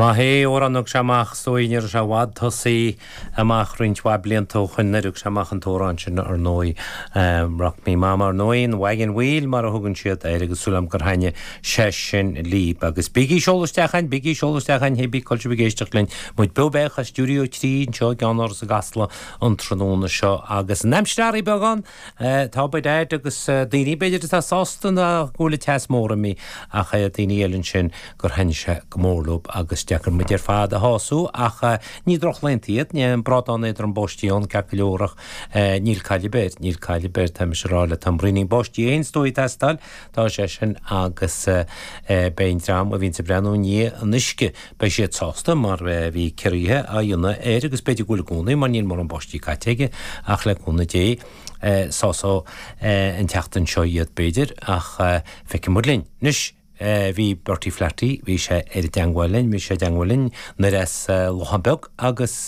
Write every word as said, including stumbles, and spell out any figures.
maith é amhrán a thug sé amach is dóigh ní raibh sé i bhfad tosaí amach roinnt mhaith blianta ó shoin nuair a thug sé amach an t-amhrán sin ar ndóigh Rock Me Mama ar ndóigh an Wagon Wheel mar a thugann siad air agus súil agam gur thaitnigh sé sin libh agus bígí ag seoladh isteach chugainn bígí ag seoladh isteach chugainn hé bí cá bhfuil sibh ag éisteacht linn muid beo beag as stiúideo trí anseo i gceannáras i gCasla an tráthnóna seo agus an aimsir athraithe beagán tá by dad agus daoine b'fhéidir atá sásta ná go bhfuil an teas mór imithe ach daoine eile ansin gur thaitnigh sé go mór leo agus deacair muid ar fad a shású ach ní drochlaethanta iad ní an brádán éadrom báistí ann ceart go leor ach níl cailleadh air níl cailleadh air tá mise ag rá le tá braoinín báistí aon stóí teastáil tá sé sin agus beidh an dream a bhíonn ag breathnú i ndiaidh an uisce beidh siad sásta mar bhí ciorruithe á dhéanamh air agus b'fhéidir go bhfuil i gcónaí mar níl mórán báistí caite aige ach le cúnamh Dé sásóidh an tseachtain seo iad b'fhéidir ach feicfidh muid linn. Anois bhí Bertie Flaherty, bhí sé ar an dteangmháil linn, bhí sé i dteangmháil linn nuair as Lochán Beag agus